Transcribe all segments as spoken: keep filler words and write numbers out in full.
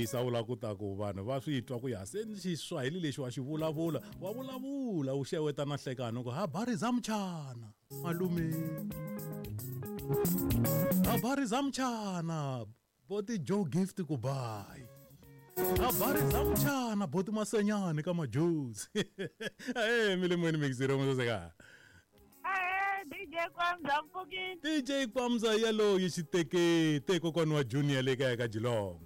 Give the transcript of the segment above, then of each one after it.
tirhisa u lava ku ta ku vanhu va swi twa ku ya se Xiswahili lexi wa xi vulavula wa vulavula u xeweta na hlekani ku habari za mchana malume habari za mchana boti Joe Gift ku bye habari za mchana boti Masenyani ka majuzi eh milimweni mixiro moseka D J Kwamza mpfukile D J Kwamza yaloyi xitekete kokwana wa Junior le kaya ka Jilongo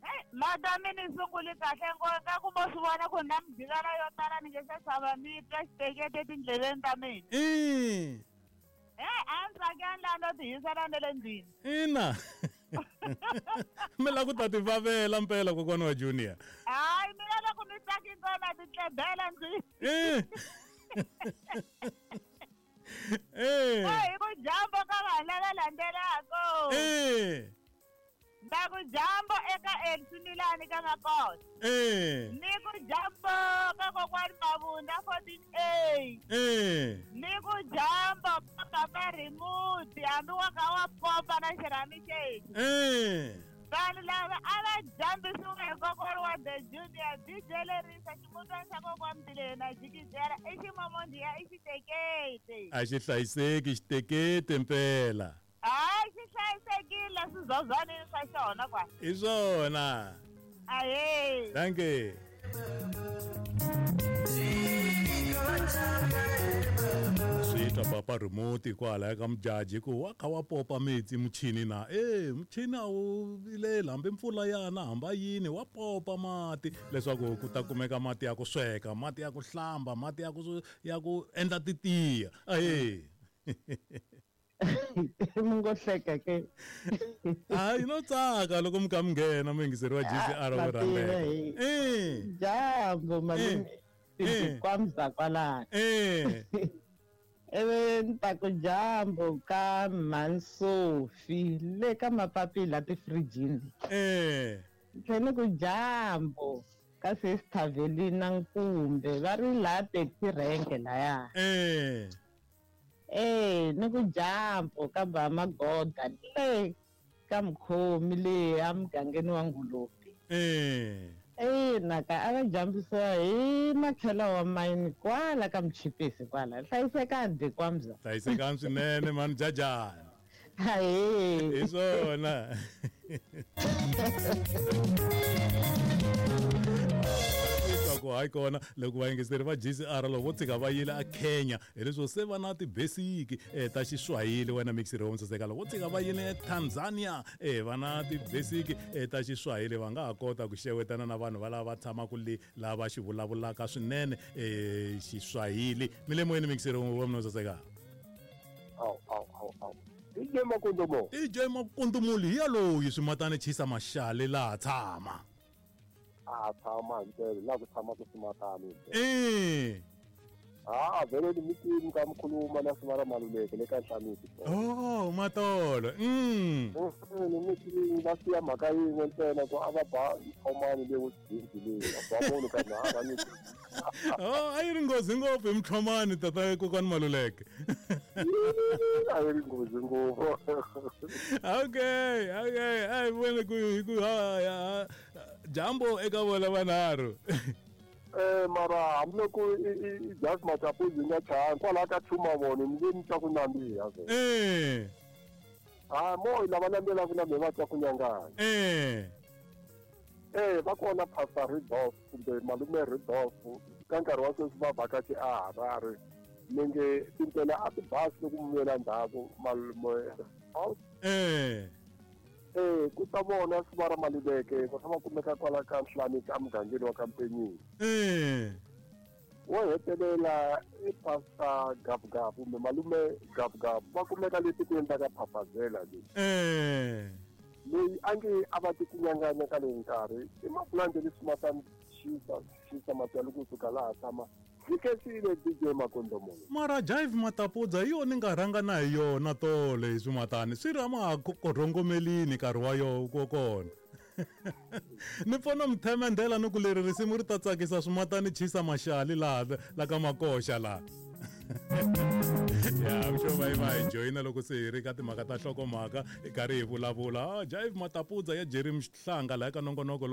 hey madame ni sungule kahle ngona ku mo swi vona ku na mjikana yo tala ni nge se xava mi twa xitekete etindleleni ta mina eh eh a ndzi tsakela la no tihisela na le ndlwini ina mi la ku ta ti vavela mpela kokwana wa Junior hayi mina loko ni tsaki kona ti tlebela ndlwini eh Eh. Hey, ku jambo ka vanhu lava landzelaka. Eh. Nda ku jambo eka Elsimilani ka Makota. Eh. Ni ku jambo ka kokwani Mavunda fourteen A. Eh. Ni ku jambo ka papa Rimuti hambi wa ka wa popa na xirhami xexi. Eh. Vanhu lava a va jambisiwa hi kokwana wa The Junior D J lerisa ximutwana xa kokwani Mbilena jikijela i ximomondiya i xitekete a xi hlayiseki xitekete mpela hayi xi hlayisekile swizozwanini swa xona kwa hi swona ahee danke swi twa papa Remote kwala ka mujaji ku wa kha wa popa metsi muchini na eh muchini a wu vilela hambi mpfula yana hamba yini wa popa mati leswaku ku ta kumeka mati ya ku sweka mati ya ku hlamba mati ya ku ya ku endla titiya ahee mi ngo hleka ke hayi no tsaka loko mi kha mi nghena muyingiseri wa G C R wo rhambela eh jambo malume Kwamza kwalano eh ewe ni ta ku jambo ka Mansofi le ka mapapila tifrijini eh tlhela ku jambo ka Sister Velina Nkumbe va ri laha taxi rank laya eh eh ni ku jambo ka ba Magoda le ka mukhomi le a mugangeni wa Ngulupi eh eh naka a va jambisiwa hi makhela wa mayini kwala ka Mchipisi kwala hlayisekani Kwamza hlayisekani swinene mani jajani hayi hi swona ku hayi kona loko vayingiseri va G C R loko vo tshika va yile a Kenya hi leswo se va na ti-basic eh, ta Xiswahili wena mixiri wo saseka loko vo tshika va yile Tanzania eh, va na ti-basic eh, ta Xiswahili va nga ha kota ku xewetana na vanhu va lava va tshamaka le lava xi vulavulaka swinene eh, Xiswahili mi le moyeni mixiri wa mina saseka aw aw aw aw D J Makundumo D J Makundumuli hi yaloyi swimatani chisa maxale laha tshama a tshama hi la ku tshama ku swimatani eh a vele ni mitini ka mkhuluma na Sivara Maluleke le ka Nhlanisi oh matolo mm ni mitini va siya mhaka yin'we ntsena ku a va ba mthomani le wudindi leyi a ba munhu ka na va ni oh a yi ri nghozi ngopfu hi mthomani tata kokwani Maluleke a yi ri nghozi ngopfu okay okay ai vone ku ku ha jambo eka vona vanharhu eh mara hambiloko i just matapuzi nga chaya kwala ka chuma vona ni nge ni twa ku nandziha eh ah mo lava landzelaka na me va twa ku nyanganya eh eh va kona Pastor Ridolf kumbe malume Ridolf ka nkarhi wa sweswi va vhakachi a Harare ni nge tindlela a ti basi loko mi vuyela ndzhaku malume eh eh ku ta vona Sivara Maluleke va tshama kumeka kwala ka Nhlanisi emugangeni wa ka Mpenyeni eh wo hetelela i Pastor Gabugab kumbe malume Gabugab va kumeka le tikweni ta ka Phapazela leyi eh leyi a nge a va ti ku nyanganya ka leyi nkarhi i mapulandi leswi matani xisa xisa matali kusuka laha tshama Sikesile D J Makondomo mara Jive Matapudza hi yona ni nga rhanga na hi yona tolo hi swimatani swi ri ama ha korhongomelini nkarhi wa yo ko kona ni pfona mthemendela ni ku leri risimu ri ta tsakisa swimatani chisa maxali laha la ka makoxa laha ya I'm sure va va hi joyina loko se hi ri ka timhaka ta nhlokomhaka hi karhi hi vulavula ah Jive Matapudza ya Jerry Mhlanga laha ka nongonoko.